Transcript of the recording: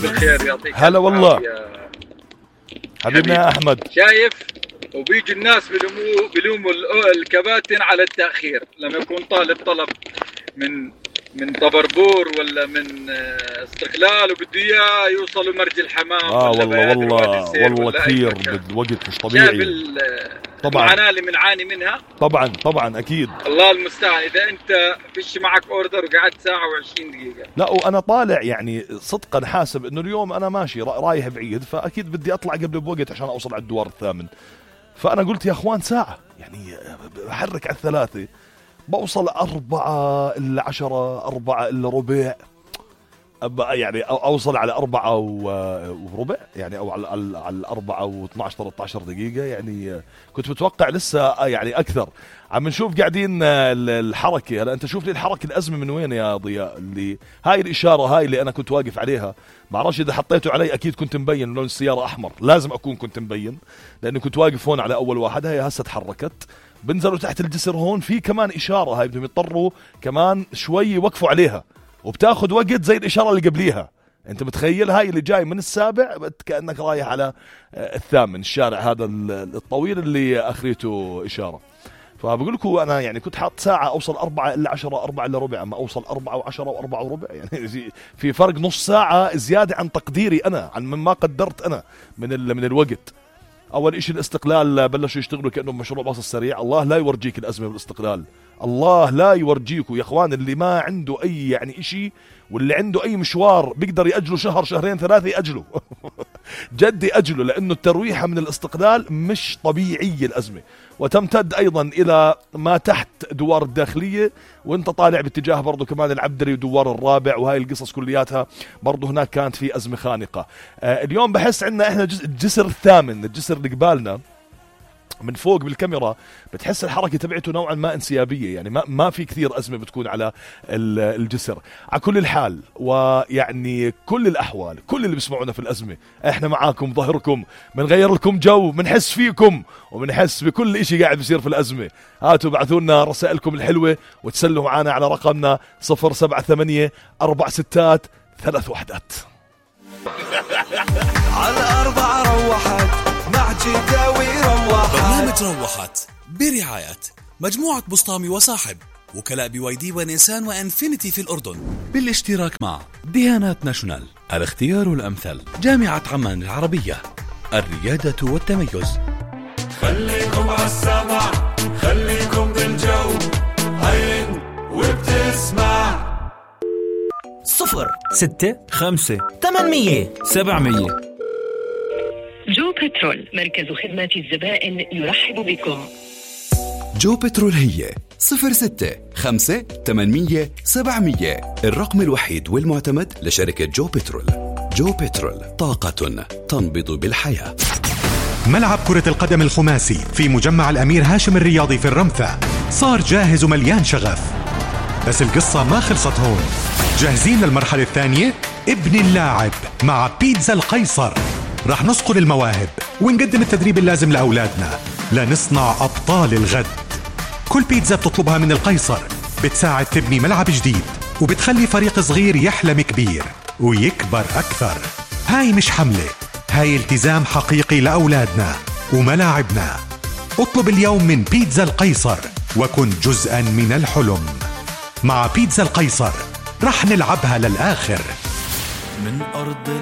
بالخير يعطيك. هلا والله حبيبنا يا أحمد. شايف وبيجي الناس بلوموا الكباتن على التأخير لما يكون طالب طلب من طبربور ولا من استقلال وبده اياه يوصلوا مرج الحمام. والله كثير بالوقت مش طبيعي. طبعا المعاناة اللي بنعاني منها. طبعا اكيد. الله المستعان. اذا انت فيش معك اوردر وقعدت ساعة و20 دقيقة. لا وانا طالع يعني صدقا حاسب انه اليوم انا ماشي رايح بعيد، فاكيد بدي اطلع قبل بوقت عشان اوصل على الدوار الثامن. فانا قلت يا اخوان ساعة يعني بحرك على 3 بوصل 4 إلا 10 4 إلا ربع، يعني أوصل على 4 وربع يعني، أو على 4 و12 13 دقيقة يعني. كنت متوقع لسه يعني أكثر. عم نشوف قاعدين الحركة. هلا أنت شوف لي الحركة الأزمة من وين يا ضياء؟ اللي هاي الإشارة هاي اللي أنا كنت واقف عليها، بعرفش إذا حطيته علي أكيد كنت مبين لون السيارة أحمر، لازم كنت مبين لأنه كنت واقف هون على أول واحد. هاي هسه تحركت، بنزلوا تحت الجسر هون في كمان إشارة، هاي بدهم يضطروا كمان شوي يوقفوا عليها، وبتاخد وقت زي الإشارة اللي قبليها. أنت متخيل هاي اللي جاي من السابع كأنك رايح على الثامن، الشارع هذا الطويل اللي أخريته إشارة. فبقول لكم أنا يعني كنت حاط ساعة أوصل 4 إلا 10 4 إلا ربع، أما أوصل 4 و10 و4 وربع، يعني في فرق نص ساعة زيادة عن تقديري أنا، عن مما قدرت أنا من الوقت. أول إشي الاستقلال بلشوا يشتغلوا كأنه مشروع باص السريع. الله لا يورجيك الأزمة بالاستقلال، الله لا يورجيكوا يا أخوان. اللي ما عنده أي يعني إشي واللي عنده أي مشوار بيقدر يأجله شهر شهرين 3 يأجله جدي أجله، لأنه الترويحة من الاستقلال مش طبيعية الأزمة، وتمتد أيضا إلى ما تحت دوار الداخلية، وانت طالع باتجاه برضو كمان العبدري ودوار الرابع، وهاي القصص كلياتها برضو هناك كانت في أزمة خانقة. اليوم بحس عنا احنا الجسر الثامن، الجسر اللي قبالنا من فوق بالكاميرا بتحس الحركة تبعته نوعا ما انسيابية، يعني ما في كثير أزمة بتكون على الجسر. على كل الحال ويعني كل الأحوال، كل اللي بيسمعونا في الأزمة احنا معاكم، ظهركم، بنغير لكم جو، بنحس فيكم وبنحس بكل اشي قاعد بيصير في الأزمة. هاتوا بعثوا لنا رسائلكم الحلوة وتسلوا معنا على رقمنا 078 4 6 3 1. على 4 روحت مع جداوي روحت. برنامج روحت برعاية مجموعة بسطامي وصاحب، وكلاء BYD ونيسان وانفينيتي في الأردن، بالاشتراك مع ديانات ناشونال، الاختيار الأمثل، جامعة عمان العربية، الريادة والتميز. خليكم عالسمع، خليكم بالجو، هين وبتسمع 0 6 5 800 700. جو بترول، مركز خدمات الزبائن، يرحب بكم. جو بترول هي 06 5 800 700، الرقم الوحيد والمعتمد لشركة جو بترول. جو بترول، طاقة تنبض بالحياة. ملعب كرة القدم الخماسي في مجمع الأمير هاشم الرياضي في الرمثة صار جاهز ومليان شغف، بس القصة ما خلصت هون. جاهزين للمرحلة الثانية؟ ابن اللاعب مع بيتزا القيصر. رح نصقل المواهب ونقدم التدريب اللازم لأولادنا لنصنع أبطال الغد. كل بيتزا بتطلبها من القيصر بتساعد تبني ملعب جديد، وبتخلي فريق صغير يحلم كبير ويكبر أكثر. هاي مش حملة، هاي التزام حقيقي لأولادنا وملاعبنا. اطلب اليوم من بيتزا القيصر وكن جزءا من الحلم. مع بيتزا القيصر رح نلعبها للآخر. من أرض